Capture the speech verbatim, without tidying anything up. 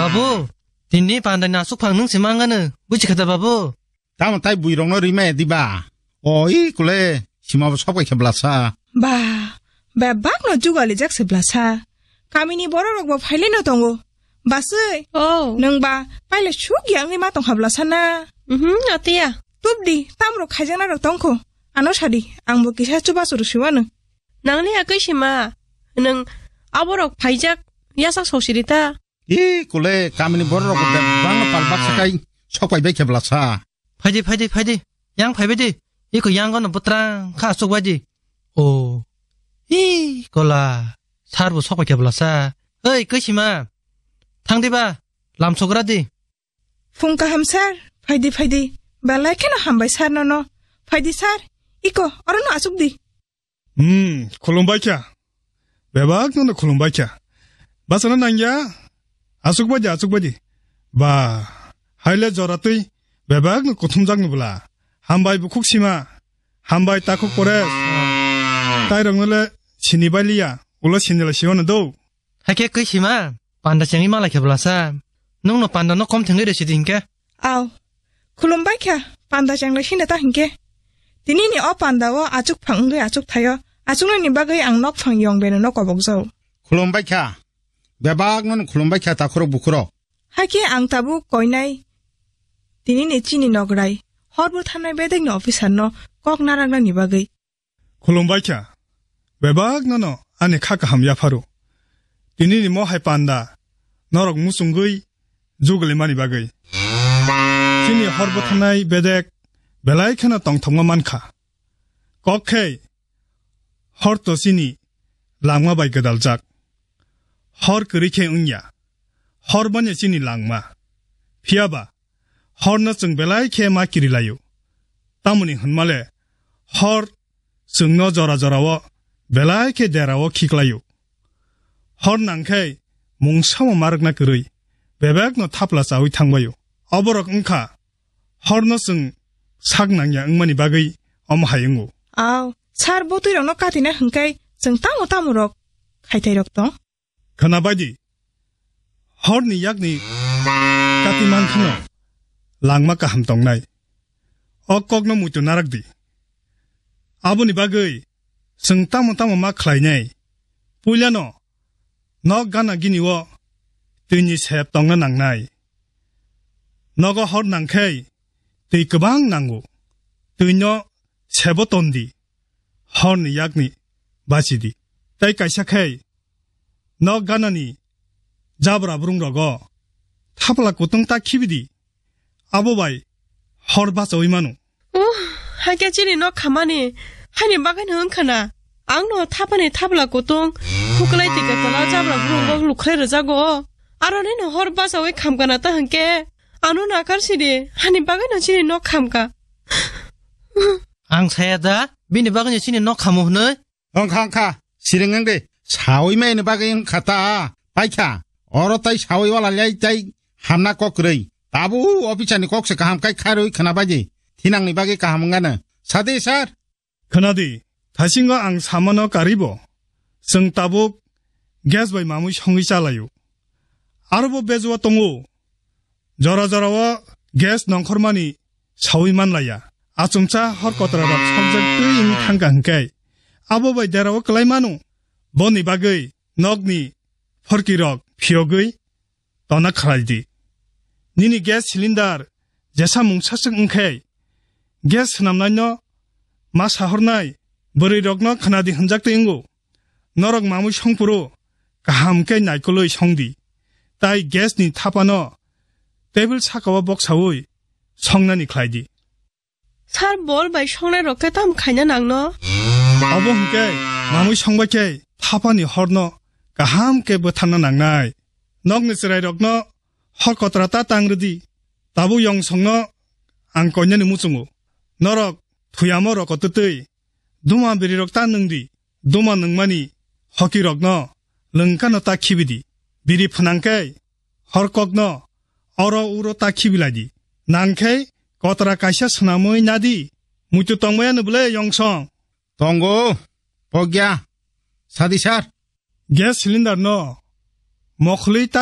Babu, tini pandai nasuk phang nung simang ano, buji khata babu. Tamo tai bui rong no rimai diba? O i kule, sima bo sok bai khe blasa. Ba, bebak no jugali jak se blasa. Kamini borok rok bo phaile no tongo. Basui. Oh. Nung ba, paile suk yang ni ma tong ha blasa na. Mhm, atiya. Tup di, tam rok khaijak na rok tong kho. Ano sadi, ang bo kisa chuba churu siwano. Nangni akui sima, nung aborok phaijak, yasak sosiri ta. I kule kamini borok rok bebak no pal baksa kai sok pai bai khe blasa. Phaidi, phaidi, phaidi. Yang phaibai di. Iko yang gono butrang kha asuk bai di. O. I kola. Sar bo sok pai khe blasa. Oi, koi sima. Thang di ba. Lam sogra di. Phung kaham sir. Phaidi, phaidi. Belai kheno hambai sir nono. Phaidi sir. Iko, oro no asuk di. Hmm, khulumbai kha. Bebak no khulumbai kha. Basana nangya. Asuk baji, asuk baji. Ba, haile jora twi. Bebak no kuthumjak no bwla. Hambai bukhuk sima. Hambai takhuk pore. Tai rok no le sini bai liya. Ulo sini le siwano do. Hakhe kwi sima. Panda chengwi malai khe bwlasa. Nungno panda no kom thengwi resi di hinkhe. Aw. Khulumbai kha, panda chenglai sina ta hinkhe. Tini ni o panda o achuk phang wngwi achuk thaio. Achuknani bagwi ang nok phang yong beno no kobok jau. Khulumbai kha. Bebak no khulumbai kha takhurok bukhurok. Hakhe ang tabuk koinai. Tini ni chini nograi. Hor bo thanai bedek ni officer no kok naraknani bagwi. Khulumbai kha. Bebak nono ani kha kaham yapharu. Tini ni mohai panda norok muchungwi juglimani bagwi. Chini hor bwthanai bedek belai kheno tongthokma mankha. Kok khe hor to chini langma bai gwdaljak. Hor kwrwi khe wngya. Hor bani chini langma. Phiyaba horno chwng belai khe ma kirilaio. Tamoni hwnmale hor chwngno jora jorao belai khe derao khiklaio. Hor nangkhe mungsamo marwkna kwrwi bebakno thapla chawi thangbaio. Oborok wngkha horno chwng sak nangya wngmani bagwi omo hai wngo. Aw, sir botwi rokno katina hwnkhe chwng tamo tamo rok khaithai rok tong? Khwnabai di, horni yakni kati mankhano langma kaham tongnai. O kokno muitu narak di. Aboni bagwi chwng tamo tamo ma khlainai. Puilano nok gana gini o twini sep tongna nangnai. Nogo hor nangkhai twi kwbang nango. Twino sebo tondi. Horni yakni bachidi. Tai kaisa khai nok ganani jabra brung rogo thapla kutung ta khibidi. Abo bai hor bachawi mano. Uh, hakhe chini nok khamani hani bagwi no wngkha na. Ang no thapani thapla kutung huklai tike tola jabra brung rok lukhrai rwjago. Aroni no hor bachawi khamkana ta hwnkhe ano nakar sidi hani bagwi no chini nok khamka. Ang saya da, bini bagwi chini nok khamu hwnwi. Wngkha, wngkha, siring wng de. Sawi mai ni bagwi wngkha ta, paikha. Oro tai sawi wala lai tai hamna kok kwrwi. Tabu officer ni kok se kaham kai kharwi khwna bai di. Thinang ni bagwi kaham wngano. Sadi sir. Khwnadi, thasingo ang samano karibo. Chwng tabuk gas bai mamwi songwi chalaio. Arobo bejua tongo. Jora jorao gas nongkhormani sawi manlaiya. Achumsa hor kotrarok sokjak twi wngwi thangkha hwnkhe abo bai derao kwlai mano. Boni bagwi nokni phorkirok phiyogwi tona khlai di. Nini gas cylinder jesa mungsaswk wngkhe gas swnamnaino ma sahornai bwrwirokno khwnadi hwnjak twi wngo. Norok mamwi songphuru kaham khe naikolwi songdi, tai gas ni thapano table sakao boksawi songnani khlai di. Sir, bol bai songnai rok khe tam khaina nangno? Obo hwnkhe mamwi songbai khe thapani horno kaham khe bwtharna nangnai. Nokni chwrairokno hor kotra ta tang rwdi. Tabuk yongsongno ang koinani muchungo. Norok thuyamo roko twtwi duma birirok ta nwngdi. Duma nwngmani hokirokno lwngkano ta khibidi. Biri phwnangkhe horkokno oro uro ta khibilaidi. Nangkhe kotra kaisa swnamwi nadi. Muitu tongmaya no bwle yongsong? Tongo, pogya, sadi sir. Gas cylinder no mokhli ta